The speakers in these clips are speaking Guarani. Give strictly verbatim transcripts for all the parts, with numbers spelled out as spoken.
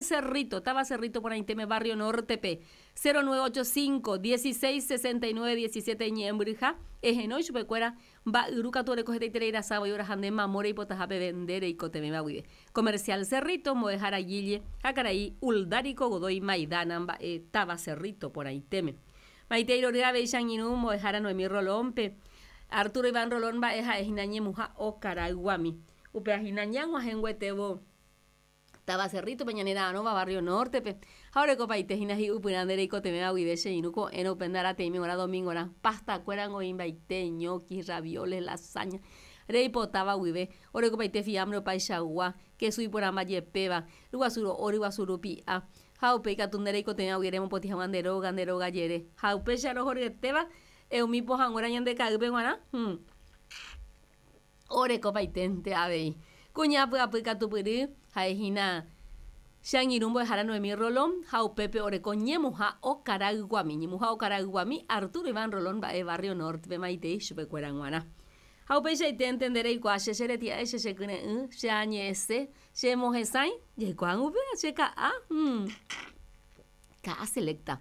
Cerrito, Taba Cerrito porãitéme Barrio Norte-pe, cero nueve ocho cinco, dieciséis sesenta y nueve, diecisiete ñe'ẽmbyryha, ehenói chupekuéra mba'yru katu oreko hetaiterei rasa voi oraha nde mamo reipotaha peve nde reikotevẽva guive. Comercial Cerrito, mbo'ehára Guille ha karai Uldarico Godoy Maidana mba'e Taba Cerrito porãitéme. Maitei rory avei che angirũ mbo'ehára Noemí Rolón-pe, Arturo Iván Rolón mba'e ha'ehína ñemuha okarayguami. Upéva hína ñag̃uahẽnguetévo Taba Cerrito-pe ñanera'arõva Barrio Norte-pe. Ha orekopaite hína hi'upyrã nde reikotevẽva guive che irũ ko'ẽrõ upe ndarateĩme g̃uarã domingo-rã. Pastakuéra ngoĩmbaite, ñoquis, ravioles, lasaña, reipotáva guive. Orekopaite fiambre opaichagua, kesu iporãmba jepéva, ryguasu ro'o, ryguasu rupi'a. Ha upéi katu nde reikotevẽva guive remopotĩ hag̃ua nde róga, nde róga jere. Ha upéicha rohoryetéva, umi pohãnguéra ñande ka'ýpe g̃uarã, hmm. Orekopaitente avei. Kuña py'apy katupyry ha'ehína che angirũ mbo'ehára Noemí Rolón ha upépe oreko ñemuha okarayguami. Ñemuha okarayguami Arturo Iván Rolón mba'e Barrio Norte-pe maitei chupekuéra g̃uarã. Ha upeichaite nde reikuaa che cheretia'e, che chekyre'ỹ, che añe'ẽse, che mohesãi, jaikuaa upéva che ka'a. Hmm. Ka'a selecta.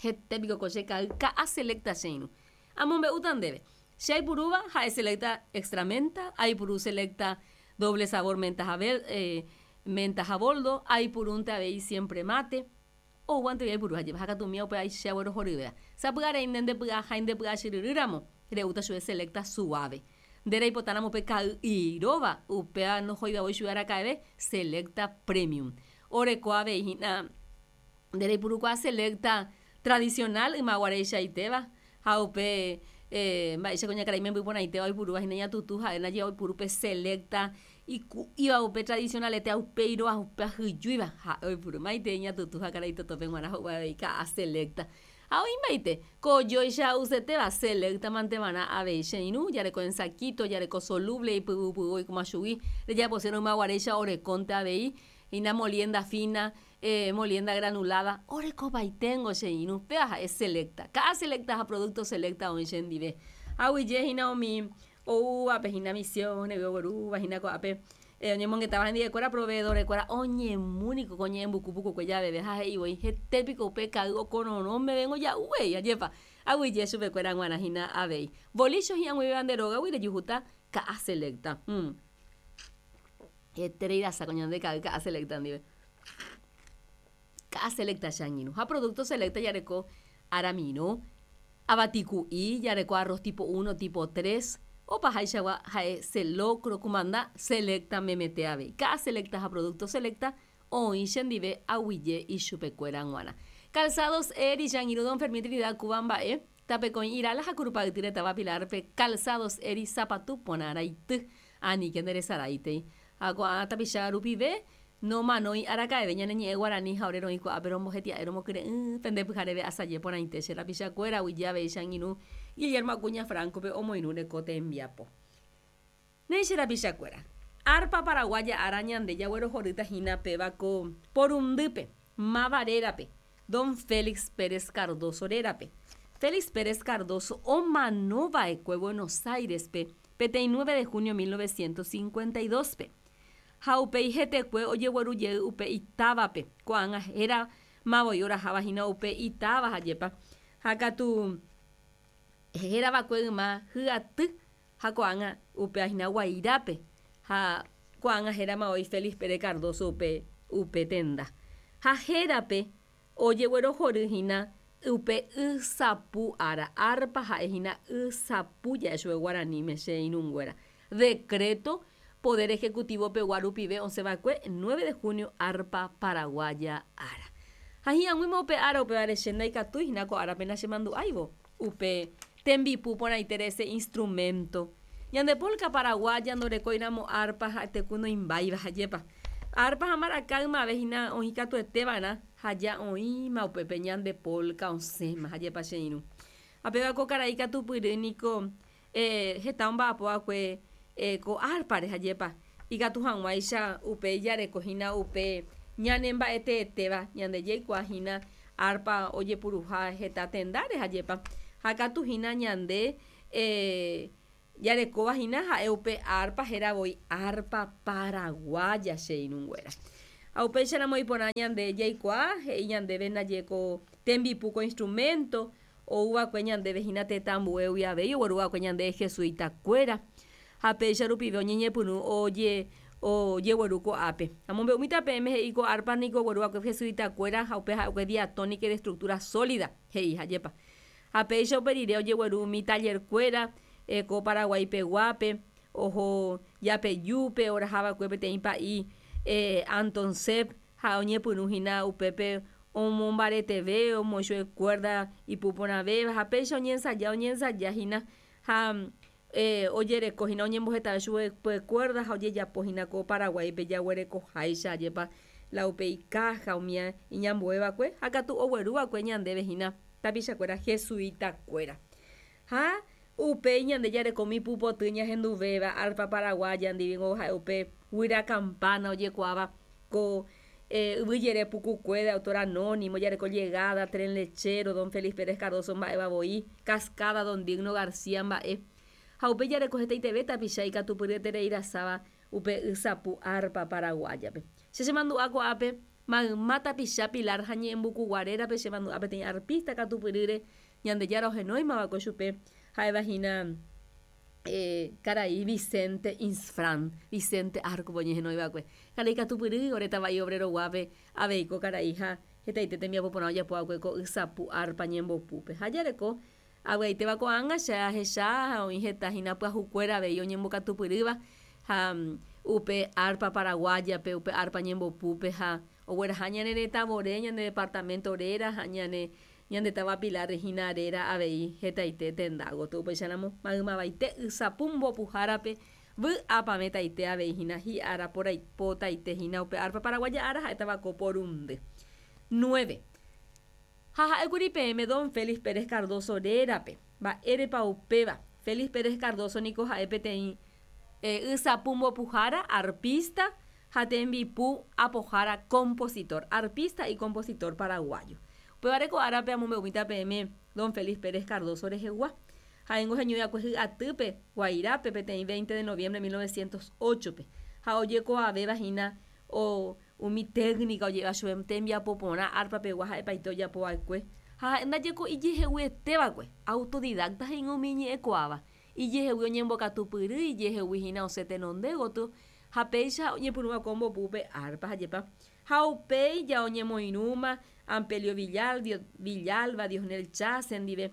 Hete piko ko che ka'y, ka'a selecta che irũ. Amombe'úta ndéve. Che aipurúva ha'e selecta extra menta, aipuru selecta doble sabor menta ha eh, menta ha boldo, aipurúnte avei siempre mate, oguante aipuru hajépa, ha katu umíva upe che aguerohoryvéva. Sapy'arei nde ndepy'a ha ndepy'a chyryrýramo, re'úta chupe selecta suave. Nde reipotáramo upe ka'y iróva, upéva nohoiva voi chupe araka'eve, selecta premium. Oreko avei hína nde reipurukuaa selecta tradicional ymaguareichaitéva, ha upe eh, mba'éicha kuñakarai memby porãitéva oipurúva hína ñatutu ha'e ndaje oipuru pe selecta iku'íva upe tradicionalete upeirõ upe ahyjúiva ha'e oipuru maitei ñatutu ha karai totópe g̃uarã ho'u avei ka'a selecta. Ha oĩmbaite kojóicha usetéva selecta manteva'erã avei che irũ, jareko en saquito, jareko soluble ipyvupyvu oikóma chugui, rejaposérõ ymaguaréicha orekónte avei hína molienda fina, eh, molienda granulada, orekopaitengo che irũ, péva ha'e selecta. Ka'a selecta ha producto selecta oĩ chendive. Aguyje hína umi oúvape hína Misiones oguerúva hína ko'ápe eh, oñemongetáva hendivekuéra proveedorekuéra oñemúniko ko ñe'ẽmbuku pukukue javeve ha he'i voi hetépiko upe ka'y okororõme vengo ja'úvei ajépa. Aguyje chupekuéra g̃uarã hína avei. Bolicho hi'ag̃uivéva nde rógagui rejuhúta ka'a selecta. Hmm. Heterei rasa ko ñande ka'y ka'a selecta ndive. Ka'a selecta che angirũ. Ha producto selecta jareko aramirõ, avatiku'i, jareko arroz tipo uno, tipo tres, opahaichagua ha'e selocro, kumanda selecta memete avei. Ka'a selecta ha producto selecta oĩ chendive aguyje ichupekuéra g̃uarã. Calzados Eri, che angirũ don Fermín Trinidad Cuba mba'e, tapekõi Irala ha Kurupa'yty retava Pilar-pe, Calzados Eri sapatu porã raity. Aníke nderesaraitei. Ha ko'ã tapicha rupive nomanói araka'eve ñane ñe'ẽ guarani ha ore roĩ ko'ápe rombohetia'e romokyre'ỹ pende pyhareve asaje porãite che rapichakuéra aguyje avei che angirũ Guillermo Acuña Franco-pe omoirũ reko tembiapo. Néi che rapichakuéra. Arpa paraguaya ára ñande jaguerohorýta hína péva ko porundýpe, máva rérape, don Félix Pérez Cardozo rérape. Félix Pérez Cardozo omanova'ekue Buenos Aires-pe peteĩ nueve de junio mil novecientos cincuenta y dos-pe. Ha upéi hetekue ojegueru jey upe itávape, ko'ág̃a héra mavoi oraháva hína upe itáva hajépa. Ha katu héravakue yma hyaty ha ko'ág̃a upe hína Guairápe. Ha ko'ág̃a héra mavoi Félix Pérez Cardozo upe, upe tenda. Ha hérape ojeguerohory hína upe ysapu ára, arpa ha'e hína ysapu ja'e chupe guaraníme che irũnguéra. Decreto Poder Ejecutivo pegua rupive osẽva'ekue nueve de junio arpa paraguaya ára. Ha hi'ag̃uíma upe ára upévare che ndaikatúi hína ko árape nachemandu'áivo upe tembipu porãite ese instrumento. Ñande polka paraguaya ndorekóiramo arpa ha'eteku noimbáiva hajépa. Arpa ha mbaraka ymave hína oĩ katueteva'erã ha ja oĩma upépe ñande polka osẽma hajépa che irũ. Ha péva ko karai katupyry niko, eh, heta omba'apo'akue, eh, ko arpare hajépa. Ikatu hag̃uáicha upe jareko hína upe ñane mba'eteetéva ñande jaikuaa hína arpa ojepuruha heta tendáre hajépa. Ha katu hína ñande, eh, jarekóva hína ha'e upe arpa héra voi arpa paraguaya che irũnguéra. Ha upéicharamo iporã ñande jaikuaa he'i ñandéve ndaje ko tembipu ko instrumento ouva'ekue ñandéve hína tetã ambuégui avei ogueruva'ekue ñande jesuitakuéra ha péicha rupive oñeñepyrũ oje ojegueru ko'ápe. Amombe'umíta peẽme he'i ko arpa niko ogueruva'ekue jesuitakuéra ha upe ha'ekue diatónica de estructura sólida he'i hajépa. Ha péicha upe rire ojegueru umi tallerkuéra ko Paraguaipeguápe oho Yapeyúpe orahava'ekue peteĩ pa'i Anton Sepp ha oñepyrũ hína upépe omombareteve omoĩ cuerda ipuporãvéva ha péicha oñensaja oñensajahína ha ojerekohína oñembohetave chupe cuerda ha ojejapohína ko Paraguáipe jaguerekoháicha ajépa la upe icaja umi iñambueva'ekue ha katu ogueruva'ekue ñandéve hína tapichakuéra jesuitakuéra. Ha upéi ñande jareko umi pupoty ñahenduvéva arpa paraguaya ndive ha'e upe guyra campana ojekuaáva ko yvyjere pukukue de autor anónimo jareko llegada, tren lechero, don Félix Pérez Cardozo mba'evavoi, cascada don Digno García mba'e ha upe jareko hetaiteve tapicha ikatupyryetereirasáva upe ysapu arpa paraguayape. Che chemandu'a ko'ápe mayma tapicha Pilar ha ñe'ẽmbukuguarérape chemandu'a peteĩ arpista katupyrýre Ñandejára ohenóimava'ekue chupe ha'evahína karai Vicente Insfrán, Vicente Arco oñehenoiva'ekue. Karai katupyry oretava'i obrero-guápe avei ko karai ha hetaite tembiapo porã ojapova'ekue ko ysapu arpa ñembopúpe. Ha jareko avy'aitéva ko'ág̃a che ahecha ha oĩ heta hína pyahukuéra avei oñembokatupyrýva ha upe arpa paraguayape, upe arpa ñembopúpe ha ogueraha ñane retãvore, ñane departamento réra ha ñane ñande táva Pilar hína réra avei hetaite tenda gotyo. Upéicharamo maymavaite ysapu mbopuhárape vy'apavẽtaite avei hína hi'ára potaite hína upe arpa paraguaya ára ha'étava ko porundy. nueve. Ha ha'ékuri peẽme don Félix Pérez Cardozo rérape. Mba'érepa upéva. Félix Pérez Cardozo niko ha'e peteĩ ysapu mbopuhára, arpista ha tembipu apohára compositor, arpista y compositor paraguayo. Upévare ko árape amombe'umíta peẽme don Félix Pérez Cardozo rehegua. Ha'éngo heñoi'akue hy'atýpe Guairápe peteĩ veinte de noviembre mil novecientos ocho-pe. Ha ojekuaavéva hína o umi técnica oje'éva chupe tembiapo porã arpapegua ha'epaite ojapova'ekue. Ha ha'e ndajeko ijeheguietéva'ekue, autodidacta he'íg̃a umi iñe'ẽkuaáva. Ijehegui oñembokatupyry, ijehegui hína osẽ tenonde gotyo ha péicha oñepyrũva'ekue ombopúpe arpa hajépa. Ha upéi ja oñemoirũma Ampelio Villalba, Diosnel Chase ndive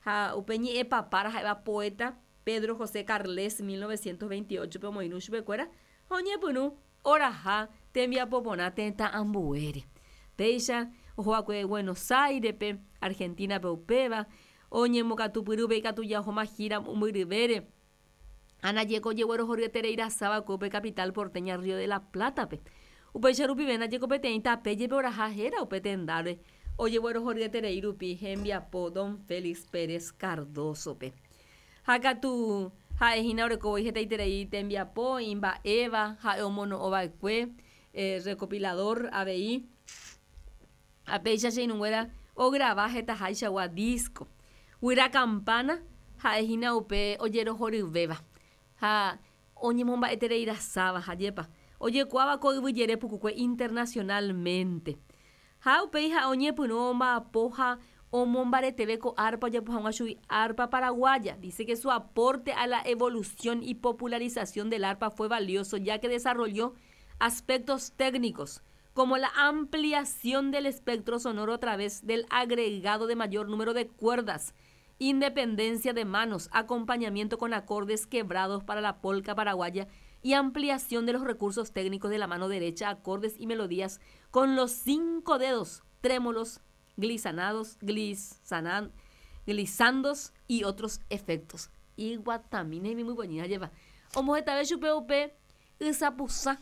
ha upe ñe'ẽpapára ha'éva poeta Pedro José Carles mil novecientos veintiocho-pe omoirũ chupekuéra ha oñepyrũ oraha tembiapo porã tetã ambuére. Péicha ohova'ekue Buenos Aires-pe, Argentina-pe upéva, oñembokatupyrýpe ikatu jahóma gira mombyryvére. Anajeko ojeguerohoryetereirasáva'ekue upe capital porteña Río de la Plata-pe. Upéicha rupive ndajeko peteĩ tape jepe oraha héra upe tendáre ojeguerohoryeterei rupi hembiapo don Félix Pérez Cardozo-pe. Ha katu ha'ehína orekóvoi hetaiterei tembiapo imba'éva ha'e omono'õva'ekue recopilador avei ha péicha che irũnguéra ograva hetaháichagua disco. Guyra campana ha'ehína upe ojerohoryvéva ha oñemomba'etereirasáva hajépa ojekuaáva ko yvyjere pukukue internacionalmente. Ha upéi ha'e oñepyrũ omba'apo ha omombareteve ko arpa ojapo hag̃ua chugui arpa paraguaya. Dice que su aporte a la evolución y popularización del arpa fue valioso ya que desarrolló aspectos técnicos como la ampliación del espectro sonoro a través del agregado de mayor número de cuerdas, independencia de manos, acompañamiento con acordes quebrados para la polca paraguaya y ampliación de los recursos técnicos de la mano derecha, acordes y melodías con los cinco dedos, trémolos, glisanados, glisanan, glisandos y otros efectos. Iguatamine muy bonita lleva. Omohetave chupe upe ysapusã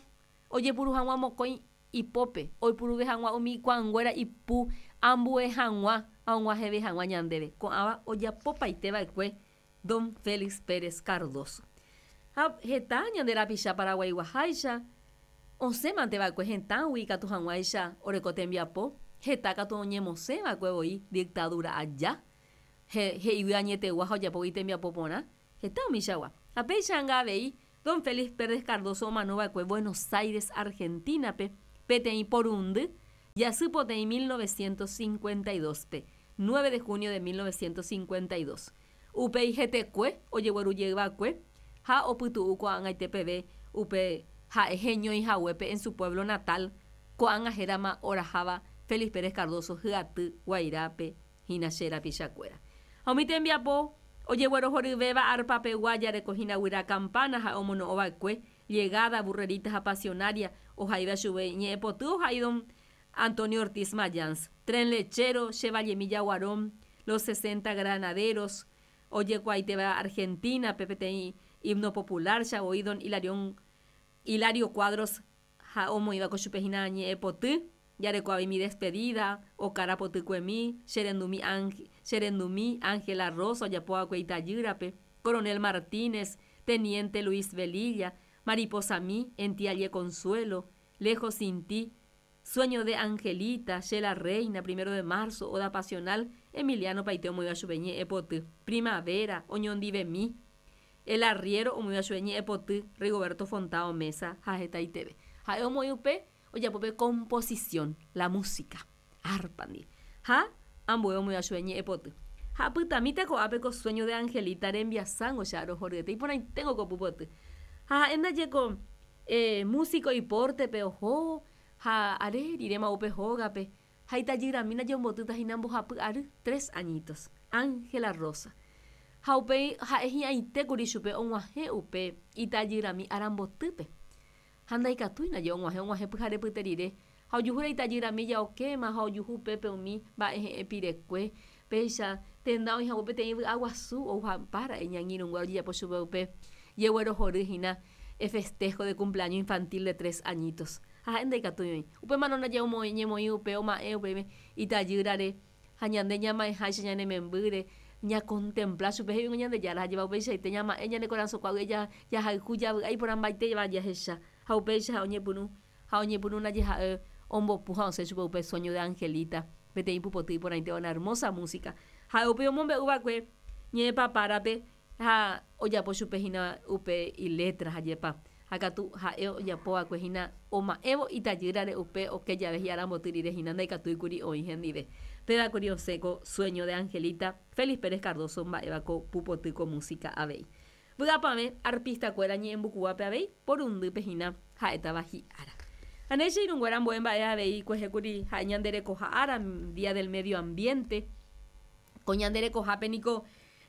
ojepuru hag̃ua mokõi ipópe, oipuruve hag̃ua umi kuãnguéra ipu ambue hag̃ua ha og̃uahẽve hag̃ua ñandéve. Ko'ãva ojapopaiteva'ekue don Félix Pérez Cardozo. Ha heta ñande rapicha paraguaiguaháicha osẽmanteva'ekue hetãgui ikatu hag̃uáicha oreko tembiapo, heta katu oñemosẽva'ekue voi dictadura aja, he'ígui añetegua ha ojapógui tembiapo porã, heta umichagua. Ha péicha anga avei don Félix Pérez Cardozo omanova'ekue Buenos Aires, Argentina-pe, Peteĩ porundy jasypoteĩ mil novecientos cincuenta y dos pe, nueve de junio de mil novecientos cincuenta y dos. Upéi hetekue ojeguerujeyva'ekue ha opytu'u ko'ag̃aite peve upe ha'e heñoihaguépe en su pueblo natal, ko'ág̃a hérama oraháva Félix Pérez Cardozo hyaty Guairápe hína che rapichakuéra. Ha umi tembiapo ojeguerohoryvéva arpapegua jarekohína guyra campana ha omono'õva'ekue llegada, burrerita ha pasionaria ohaíva chupe ñe'ẽpoty ohai don Antonio Ortiz Mayans, Tren Lechero, Che Vallemi Jaguarón, Los sesenta Granaderos, ojekuaaitéva Argentina, peteĩ himno popular, chavoi don Hilarión, Hilario Cuadros ha omoĩva ko chupe hína ñe'ẽpoty, jareko mi despedida, Okára potykuemi, Cherendumi Ángel, Cherendumi, Ángela Rosa, ojapova'ekue itajýrape, Coronel Martínez, Teniente Luis Velilla, Mariposa Mi, En ti hallé consuelo, Lejos sin ti, Sueño de Angelita, Che la Reina, Primero de Marzo, Oda Pasional, Emiliano Paite omoĩva chupe ñe'ẽpoty, Primavera, Oñondivemi, El Arriero omoĩva chupe ñe'ẽpoty, Rigoberto Fontao Mesa ha hetaiteve. Ha'e omoĩ upe ojapope composición, la música, arpa-ndi. Ha ambue omoĩva chupe ñe'ẽpoty. Ha pytamíta ko'ápe ko Sueño de Angelita rembiasángo che arohoryete, iporãiténgo ko pupoty. Ha ha'e ndajeko eh, músico iportepe oho, ha are rirema upe hógape, ha itajyramína jombotýta hína mbohapy ary, tres añitos, Ángela Rosa. Ha upéi ha'e hi'ãitékuri chupe og̃uahẽ upe itajyrami arambotýpe. Ha ndaikatúina je og̃uahẽ og̃uahẽ pyharepyte rire, ha ojuhúra itajyrami jaokéma ha ojuhu upépe umi mba'e he'ẽ pirekue, péicha tenda oĩhague peteĩ vy'aguasu ouhapára'e ñangirũnguéra ojejapo chupe upe jeguerohory hína e festejo de cumpleaños infantil de tres añitos. Ha ha'e ndaikatúi oĩ. Upémarõ ndaje omoĩ ñemoĩ upe oma'ẽ upéime itajýrare ha ñande ñama'ẽháicha ñane membýre, ñacontempla chupe he'ígui Ñandejára hajéva upeichaite ñama'ẽ ñane korasõkuágui jahayhu javy'a iporãmbaitéva jahecha. Ha upéicha oñepyrũ ha oñepyrũ ndaje ha'e ombopu ha osẽ chupe upe Sueño de Angelita, peteĩ pupoty iporãitéva una hermosa música. Ha'e upe omombe'uva'ekue ñe'ẽpapárape ha ojapo chupe hína upe iletra hajépa. Ha katu ha'e ojapova'ekue hína oma'ẽvo itajýrare upe oke jave hi'aramboty rire hína ndaikatúikuri oĩ hendive. Pévakuri osẽ ko Sueño de Angelita, Félix Pérez Cardozo mba'éva ko pupoty ko música avei. Vy'apavẽ arpistakuéra ñe'ẽmbukuápe avei porundýpe hína ha'étava hi'ára. Ane che irũnguéra ambue mba'e avei kuejékuri ha'e ñanderekoha ára, Día del Medio Ambiente, ko ñanderekohápe niko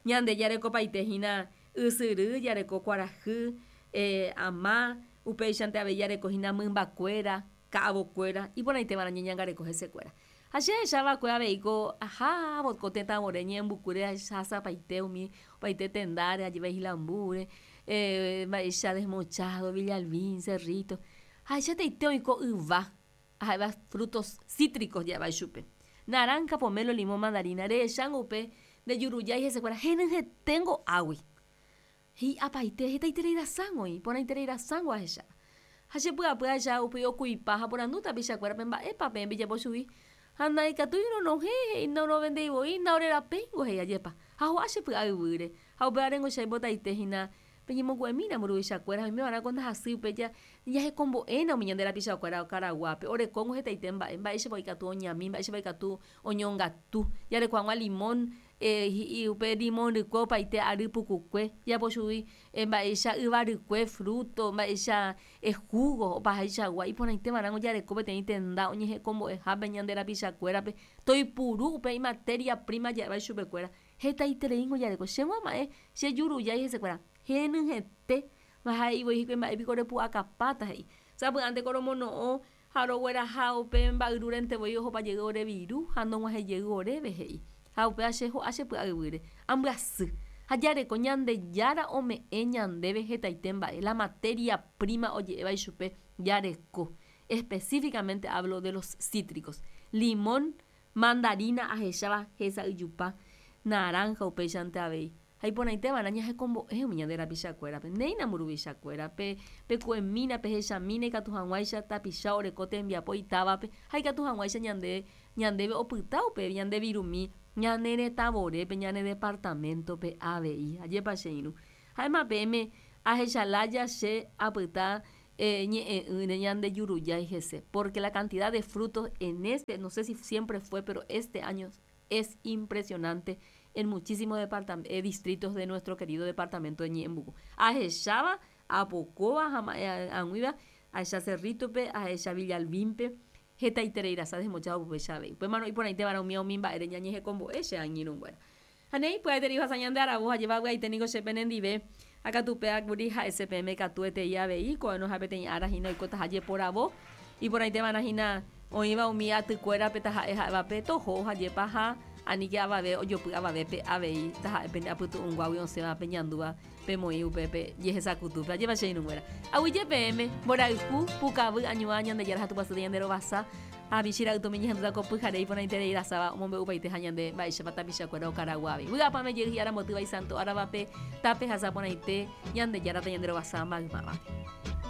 ñande jarekopaite hína ysyry, jareko kuarahy, eh, ama, upéichante avei jareko hína mymbakuéra, ka'avokuéra, iporãitévarã ñeñangareko hesekuéra. Ha che ahechava'ekue avei ko ahávo ko tetãvore ñe'ẽmbukúre ahasapaite umi opaite tendáre ajéva Islambúre, eh, mba'éicha Desmochado, Villalbín, Cerrito. Ha ahechateite oĩ ko yva, ha'éva frutos cítricos ja'éva ichupe. Naranja, pomelo, limón, mandarina, rehechango upe ndejurujái hesekuéra henyhẽténgo águi. Hi'apaite hetaitereirasángo oĩ, porãitereirasángo ahecháva. Ha chepy'apy ahecha upe okuipa ha porandu tapichakuérape mba'épa peẽ pejapo chugui. Ha ndaikatúi ronohẽ he'i norovendéivoi ndaorerapéingo he'i ajépa. Ha ho'a chepy'a yvýre. Ha upévarengo che aipotaite hína peñemoku'emína mburuvichakuéra ha oimeva'erã ko ndahasýi upe jahekombo'éna umi ñande rapichakuéra Karaguápe. Orekóngo hetaite mba'e, mba'éichapa ikatu oñami, mba'éichapa ikatu oñongatu. Jareko hag̃ua limón, eh, hi'i upe limón rykue opaite ary pukukue, japo chugui mba'éicha yva rykue, fruto, mba'éicha jugo opahaichagua iporãiteva'erãngo jareko peteĩ tenda oñehekombo'ehápe ñande rapichakuérape toipuru upe imateria prima ja'éva ichupekuéra. Hetaitereíngo jareko. Chéngo ama'ẽ chejurujái hesekuéra. Henyhẽte ha'eivoi hikuái mba'épiko repu'akapáta he'i. Sapy'ánte ko romono'õ ha rogueraha upe mba'yrúrentevoi ohopajey ore viru ha nog̃uahẽjey oréve he'i. Ha upéva che ho'a chepy'a yvýre. Ambyasy. Ha jareko Ñandejára ome'ẽ ñandéve hetaite mba'e. La materia prima oje'éva ichupe jareko. Específicamente hablo de los cítricos. Limón, mandarina ahecháva hesa'yjupa, naranja upéichante avei. Ha iporãiteva'erã ñahekombo'e umi ñande rapichakuérape. Néina mburuvichakuérape, peku'emína, pehechamína ikatu hag̃uáicha tapicha oreko tembiapo itávape ha ikatu hag̃uáicha ñande ñandéve opyta upe ñande virumi ñane retãvorépe, ñane departamento-pe avei. Ajépa che irũ. Ha'éma peẽme ahechalája che apyta eh, ñe'ẽ'ỹre ñande jurujái hese porque la cantidad de frutos en este, no sé si siempre fue, pero este año es impresionante en muchísimos eh, distritos de nuestro querido departamento de Ñe'ẽmbuku. Ahecháva, apokóva ha ag̃uíva ahecha Cerrito-pe, ahecha Villalbín-pe, hetaitereirasa desmochado upéicha avei. Upémarõ iporãiteva'erã umi umi mba'ére ñañehekombo'e che angirũnguéra. Ha néi pya'eterei ohasa ñande aravo ha jevavy'aite niko che penendive ha katu upévakuri ha'ese peẽme katuetei avei ko'ẽrõ peteĩ ára hína oikotaha jeporavo iporãiteva'erã hína oĩva umi atykuérape taha'e ha'évape toho ha jepaha anike avave ojopy avavépe avei taha'e pende apytu'ũnguágui osẽva peñandúva pemoĩ upépe jehesakutúpe ajépa che irũnguéra. Aguyje peẽme mborayhu pukavy añuã Ñandejára ha Tupãsy ñande rovasa ha michĩra'ytomi ñehendúta ko pyhare iporãiterei rasáva omombe'upaite ha ñande mba'éichapa tapichakuéra okaraguávi. Vy'apavẽ jey hi'ára mbotýva isanto áravape tapehasa porãite Ñandejára tañande rovasa maymávape.